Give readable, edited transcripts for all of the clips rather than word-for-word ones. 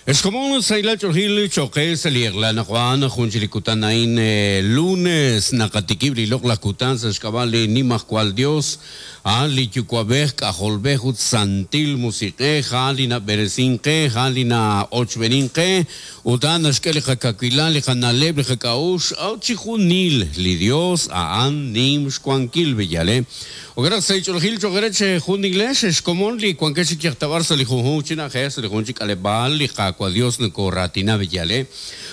Ex komon, sahilal ch'oolejil cho'q qe sa' li eq'la anaqwan, jun chik li kutan a'in lunes, naqatikib' li loq'laj kutan sa' xk'ab'a' li Nimajwal Yos, a'an li Yuwa'b'ej, K'ajolb'ej ut Santil Musiq'ej, a'an li nab'eresink qe, a'an li na'ochb'eenink qe, ut a'an naxk'e li qakawilal, li qana'leb', li qak'a'uxl, a'ut chijunil li Yos a'an nim xwankil, b'eyal. Jo'kan naq sa' ch'oolejil cho'q eere chejunilex, ex komon li wankex chi yajtab'ar sa' li junjunq chi na'ajej, sa' li junjunq chi k'aleb'aal, li Qaawa' Dios nokooraatina b'eyal.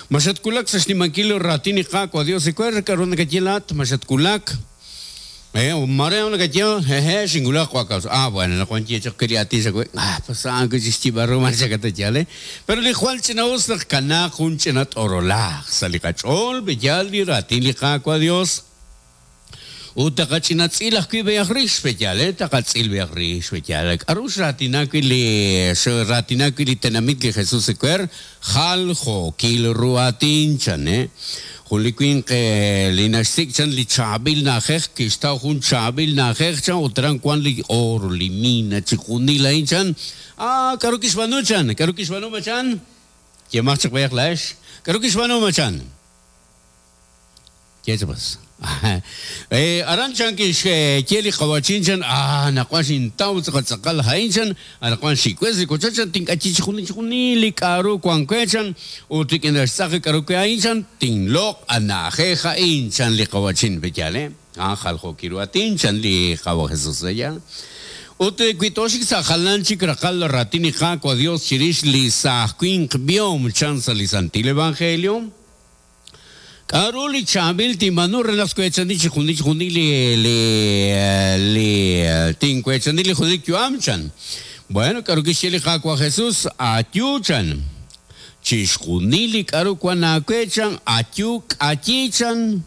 Ma xatwulak sa' xnimankil raatin li Qaawa' Dios ewer? K'aru nakaye laa'at? Ma xatwulak? Mare nakaye, Hehe', xinwulak wa' kaw. Ah, bueno, anaqwan ye chaq we li aatin xawe. Ah, pues a'an wi' chik xyib'al ru ma xakata yaal, eh? Pero li jwal ch'ina'us naq kanaaq jun ch'ina t'orolaj sa' li qach'ool b'eyal li raatin li Qaawa' Dios. Ut taqach'ina tz'il ajwi' b'eyaq rix, pe'yaal, eh? Taqatz'il b'eyaq rix, pe'yaal. K'a'ru xraatina wi' li xraatina wi' li tenamit li Jesus ewer? Jaljookil ru aatin, chan, eh? Jun li winq li naxsik' chan li chaab'il na'ajej, kixtaw jun chaab'il na'ajej, chan, ut aran wan li oor, li mina, chixjunil a'in, chan. Ah, k'a'ru kixb'aanu, chan? K'a'ru kixb'aanu, machan? Yemaq chaq b'eyaq laa'ex. K'a'ru kixb'aanu, machan? Ye chaq. Aran chan kixye li qawa'chin chan, ah anaqwan xintaw tz'aqal tz'aqal a'in chan, anaqwan xiwes li wochoch chan, tink'ayi chixjunil chixjunil li k'a'ru wank we chan, ut rik'in xtz'aq li k'a'ru we a'in chan, tinloq' a na'ajej a'in chan li qawa'chin, pe'yaal eh? A'an jaljookil ru aatin chan li Qaawa' Jesus, pe'yaal? Ut wi tooxik sa' jalan chik raqal raatin li Qaawa' Dios chirix li saaj winq b'ihom chan sa' li Santil Evangelio, K'a'ru li chaab'il tinb'aanu re naq tweechani chixjunil chixjunil li li li tinweechani li junelik yu'am? chan. Bueno, k'a'ru kixye li Qaawa' Jesus? Ayu, chan. Chixjunil li k'a'ru wan aawe, chan, ayu, k'ayi, chan.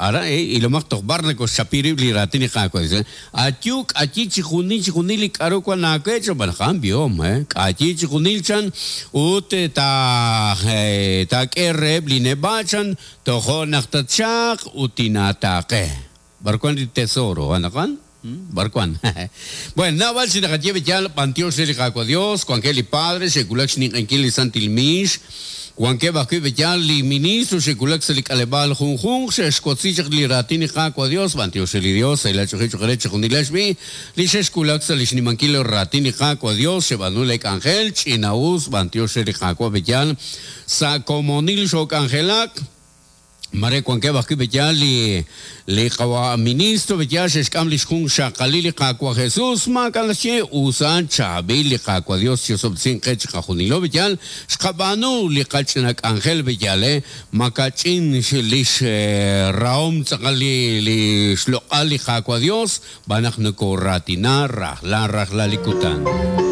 Aran, ilomaq toj b'ar nakoxchapi rib' li raatin li Qaawa' Jesus. Ayu, k'ayi chixjunil chixjunil li k'a'ru wan aawe, chan, xb'aan naq a'an b'ihom, k'ayi chixjunil, chan, ut taak'e reheb' li neb'a', chan, tojo' naq tatxaq ut tinaataaqe. B'ar wan li tesoro anaqwan? B'ar wan? Bueno, naab'al chi naqaye b'eyal, b'antiox re li Qaawa' Dios, wankeb' li padre xe'wulak xninq'ehinkil li santil miix, Wankeb' ajwi' b'eyal li ministro xe'wulak sa' li k'aleb'aal junjunq xe'xwotzi chaq li raatin li Qaawa' Dios, b'antiox re li Dios, sahilal ch'oolejil choq' re chixjunilex b'i' li xexwulak sa' li xnimankil raatin li Qaawa' Dios, xeb'aanu lee k'anjel, ch'ina-us, b'antiox re li Qaawa' b'eyal sa' komonil xook'anjelak. Mare wankeb' ajwi' b'eyal li li qawa' ministro b'eyal xe'xk'am lix junxaqalil li Qaawa' Jesus, maak'a' naxye, usan chaab'il li Qaawa' Dios chi'osob'tesinq qe chiqajunilo b'eyal, xqab'aanu li qach'ina k'anjel b'eyal, makach'in lix rahom tz'aqal li li xloq'al li Qaawa' Dios, b'an naq nokoraatina rajlal rajlal li kutan.